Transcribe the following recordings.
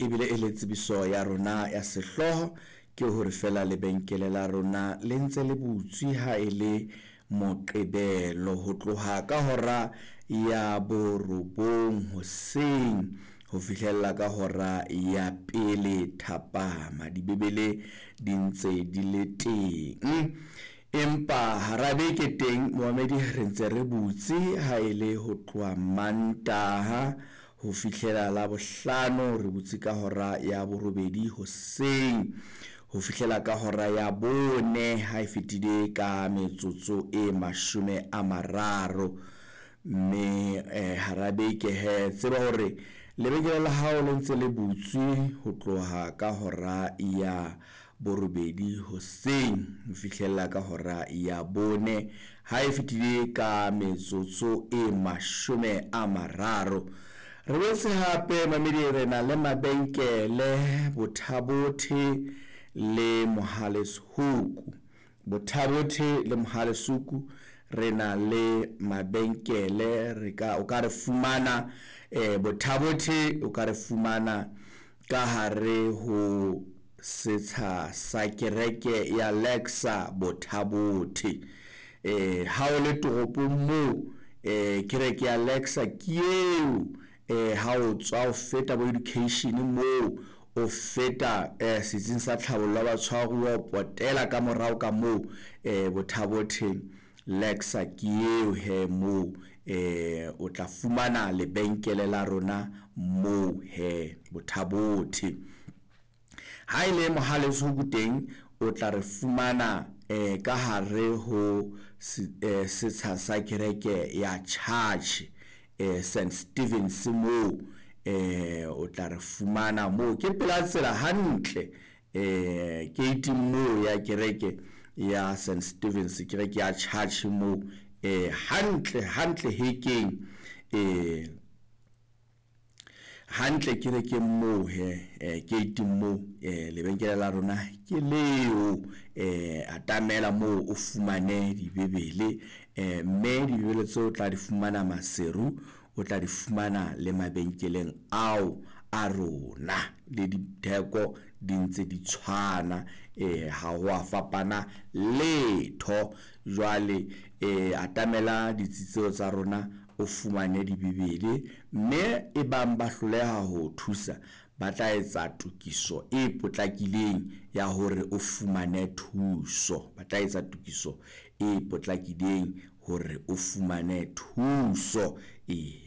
Ebile e le tsebiso ya rona ya sehlooho ke hore feela lebenkele la rona le ntse le butswe ha e le Moqebelo ho tloha ka hora ya 9 hoseng ho fihlella ka hora ya 1 thapama. Dibebele di ntse di le teng, empa hara beke teng momamedi re ntse re butse ha e le ho tloha Mantaha ho fihlela Labohlano, re butse ka hora ya 8 hoseng ho fihlela ka hora ya 4 ha e fetile ka metsotso e 30. Mme hara beke he tseba hore lebenkele la hao le ntse le butswe ho tloha ka hora ya 8 hoseng ho fihlella ka hora ya 4 ha e fetile ka metsotso e 30. Re boetse hape mamedi re na le mabenkele Botha-Bothe le Mohale's Hoek. Botha-Bothe le Mohale's Hoek re na le mabenkele, re ka o ka re fumana Botha-Bothe, o ka re fumana ka hare ho setsha sa kereke ya Lexa Botha-Bothe. Ha o le toropong moo, kereke ya Lexa ke eo, ha o tswa o feta bo education moo, o feta setsing sa tlhabollo ya batshwaruwa, o potela ka morao ka moo, Botha-Bothe Lexa ke eo he moo, o tla fumana lebenkele la rona moo he Botha-Bothe. Ha ele Mohale's Hoek teng o tla re fumana ka hare ho setsha sa kereke ya Church, St Stevens moo, o tla re fumana moo, ke pela tsela hantle, gate moo ya kereke ya St Stevens, kereke ya Church moo, hantle hantle hekeng, hantle kerekeng moo he, gate moo, lebenkele la rona ke leo. Atamela moo o fumane dibebele, mme dibebele tseo o tla di fumana Maseru, o tla di fumana le mabenkeleng ao a rona, le ditheko di ntse di tshwana, ha ho a fapana letho. Jwale atamela ditsi tseo tsa rona o fumane dibebele, mme e bang ba hloleha ho thusa, ba tla etsa tokiso e potlakileng ya hore o fumane thuso. Ba tla etsa tokiso e potlakileng hore o fumane thuso.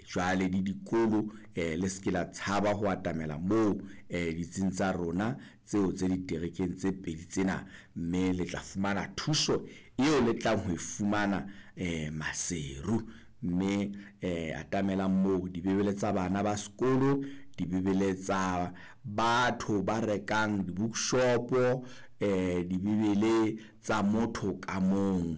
Jwale le dikolo, le se ke la tshaba ho atamela moo, ditsing tsa rona tseo tse diterekeng tse pedi tsena, mme le tla fumana thuso eo le tlang ho e fumana Maseru. Mme atamelang moo dibebele tsa bana ba sekolo, dibebele tsa batho ba rekang di-bookshop, dibebele tsa motho ka mong.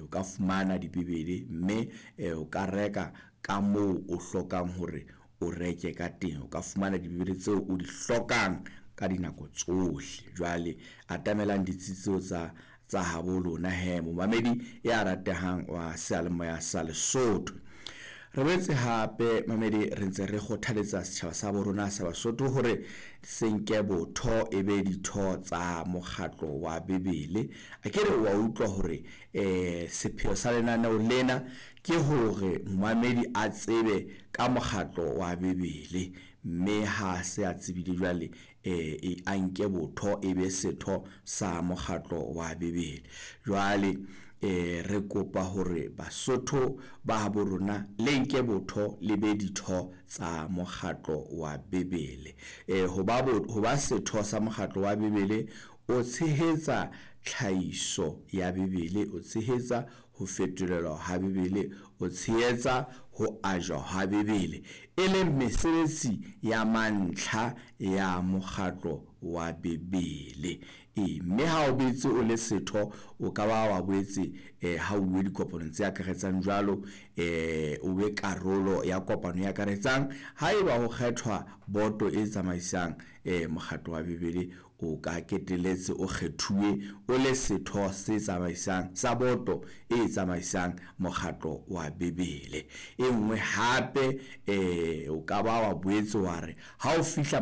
O ka fumana dibebele mme o ka reka ka moo o hlokang hore o reke ka teng. O ka fumana dibebele tseo o di hlokang ka dinako tsohle. Jwale atamelang ditsi tseo tsa habo lona he, momamedi ya ratehang wa seyalemoya sa Lesotho. Re boetse hape mamedi re ntse re kgothaletsa setjhaba sa bo rona sa Basotho hore se nke botho e be ditho tsa mokgatlo wa Bebele. A ke re wa utlwa hore sepheo sa lenaneo lena ke hore momamedi a tsebe ka mokgatlo wa Bebele, mme ha se a tsebile jwale, a nke botho e be setho sa mokgatlo wa Bebele. Jwale re kopa hore Basotho ba habo rona le nke botho le be ditho tsa mokgatlo wa Bebele. Ho ba setho sa mokgatlo wa Bebele, o tshehetsa tlhahiso ya Bebele, o tshehetsa ho fetolelwa ha Bebele, o tshehetsa ho ajwa ha Bebele, e leng mesebetsi ya mantlha ya mokgatlo wa Bebele. Mme ha o boetse o le setho, o ka ba wa boetse ha o uwe dikopanong tse akaretsang jwalo, o be karolo ya kopano e akaretsang. Haeba ho kgethwa boto e tsamaisang mokgatlo wa Bebele, o ka keteletse o kgethuwe o le setho se tsamaisang sa boto e tsamaisang mokgatlo wa Bebele. E nngwe hape, o ka ba wa boetse wa re ha o fihla